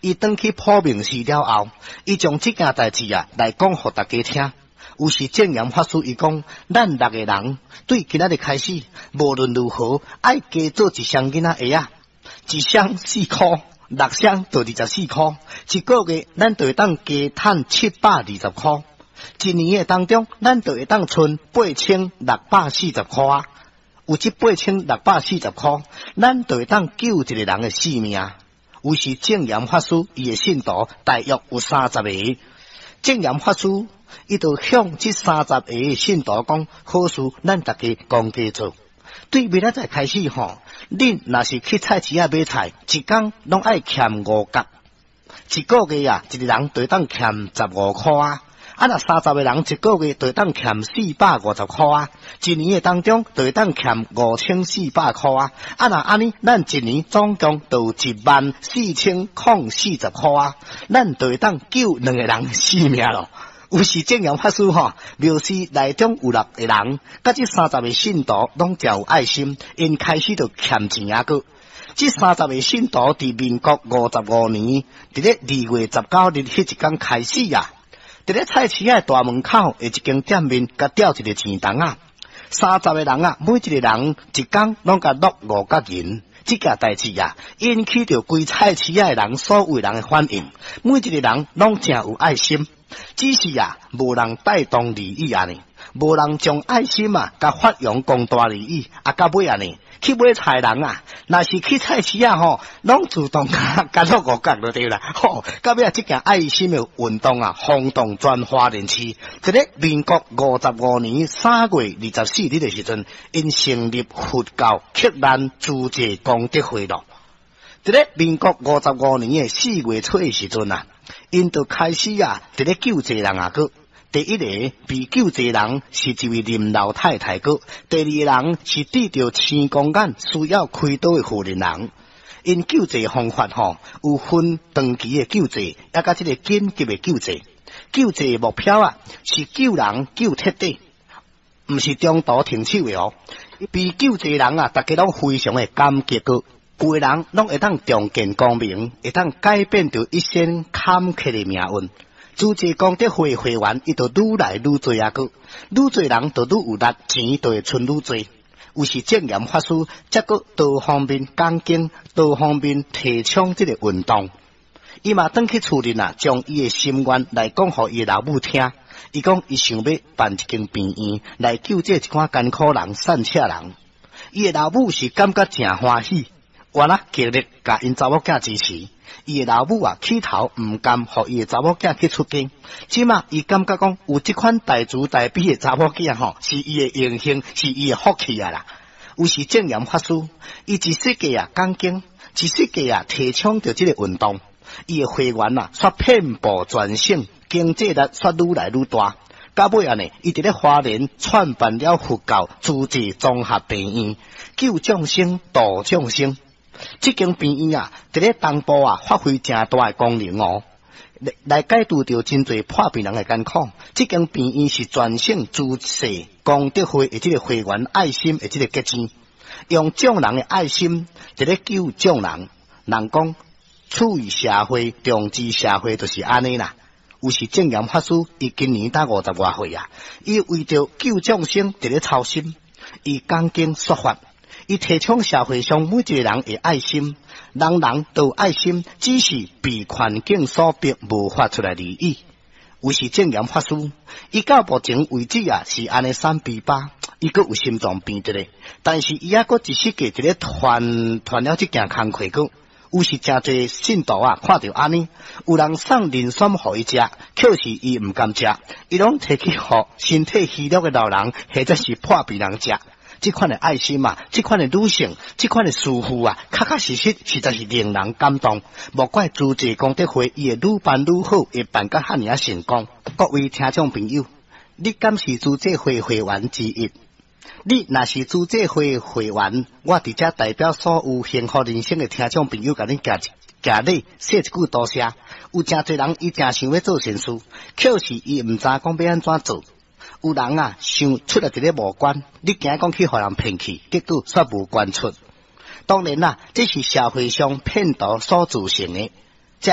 伊轉去普明寺了後，伊將這件代誌啊來講予大家聽。有時證嚴法師伊講，咱六個人對今仔日開始，無論如何愛加做一雙囡仔鞋仔，一雙4箍，六雙就24箍，一個月咱就會當加趁720箍，一年的當中，咱就會當賰8640箍啊！有這8640箍，咱就會當救一個人的性命。有時證嚴法師伊的信徒大約有三十個，證嚴法師伊就向這三十個信徒講：好事，咱大家共齊做。對明仔載開始吼，恁若是去菜市仔買菜，一工攏愛儉5角，一個月啊，一個人就會當儉15箍啊。啊！若三十個人一個月就會當儉450箍啊！一年的當中就會當儉5400箍啊！啊！若按呢，咱一年總共就有14040箍啊！咱就會當救兩個人性命咯。有時證嚴法師吼，廟寺內中有六個人，佮這三十個信徒攏誠有愛心，𪜶開始就儉錢啊閣。這三十個信徒佇民國55年，佇咧2月19日彼一工開始啊！佇咧菜市仔大門口的一間店面，共吊一个錢筒仔，三十個人啊，每一個人一工攏共落5角銀。這件代誌啊，引起著規菜市仔的人所有人的反應，每一個人攏誠有愛心，只是啊，無人帶動利益按呢，無人將愛心啊，共發揚光大而已。啊，到尾按呢，去買菜人啊，若是去菜市仔吼，攏自動共落5角就對啦。吼，到尾啊，這件愛心的運動啊，轟動全花蓮市。佇咧民國55年3月24日的時陣，𪜶成立佛教克難慈濟功德會咯。佇咧民國五十五年的4月初的時陣啊，𪜶就開始啊，佇咧救濟人啊，閣。第一個被救濟人是一位林老太太，閣第二個人是得著青光眼需要開刀的婦人人。𪜶救濟方法吼，有分長期的救濟，抑佮這个緊急的救濟。救濟目標啊，是救人救徹底，毋是中途停手的哦。被救濟人啊，大家攏非常的感激閣，有的人攏會當重見光明，會當改變著一生坎坷的命運。慈濟功德會會員，伊就愈來愈濟啊！閣愈濟人就愈有力，錢就會賰愈濟。有時證嚴法師才閣多方面講經，多方面提倡這个運動。伊嘛轉去厝裡啊，將伊的心願來講予伊的老母聽。伊講伊想欲辦一間病院來救濟一寡艱苦人、散赤人。伊的老母是感覺誠歡喜，原來極力共𪜶查某囝支持。伊的老母啊，起頭毋甘予伊的查某囝去出家，這馬伊感覺講有這款大慈大悲的查某囝吼，是伊的榮幸，是伊的福氣啊啦。有時證嚴法師，伊一世界啊講經，一世界啊提倡著這个運動，伊的會員啊，煞遍佈全省，經濟力煞愈來愈大。到尾按呢，伊佇咧花蓮創辦了佛教慈濟綜合病院，救眾生，度眾生。這間病院啊，佇咧東部啊，發揮誠大的功能哦，來解除著真濟破病人的艱苦。這間病院是全省慈濟功德會的這个會員愛心的這个結晶，用眾人的愛心佇咧救眾人。人講處於社會，重視社會，就是按呢啦。有時證嚴法師，伊今年才五十外歲啊，伊為著救眾生佇咧操心，伊講經說法。伊提倡社會上每一個人的愛心，人人都有愛心，只是被環境所逼，無法出來而已。有時證嚴法師，伊到目前為止啊，是按呢三比八，伊閣有心臟病佇咧，但是伊猶閣一世界佇咧傳傳了這件工課閣。有時誠濟信徒啊，看著按呢，有人送人參予伊食，可是伊毋甘食，伊攏提去予身體虛弱的老人，或者是破病人食。這款的愛心啊，這款的女性，這款的師父啊，確確實實實在是令人感動。莫怪慈濟功德會伊會愈辦愈好，會辦甲遐爾仔成功。各位聽眾朋友，你敢是慈濟會會員之一？你若是慈濟會會員，我佇遮代表所有幸福人生的聽眾朋友，共你行一行禮，說一句多謝。有誠濟人伊誠想欲做善事，可是伊毋知講欲按怎做。有人啊，想出來佇咧募捐，你驚講去予人騙去，結果煞無捐出。當然啦，這是社會上騙徒所造成的。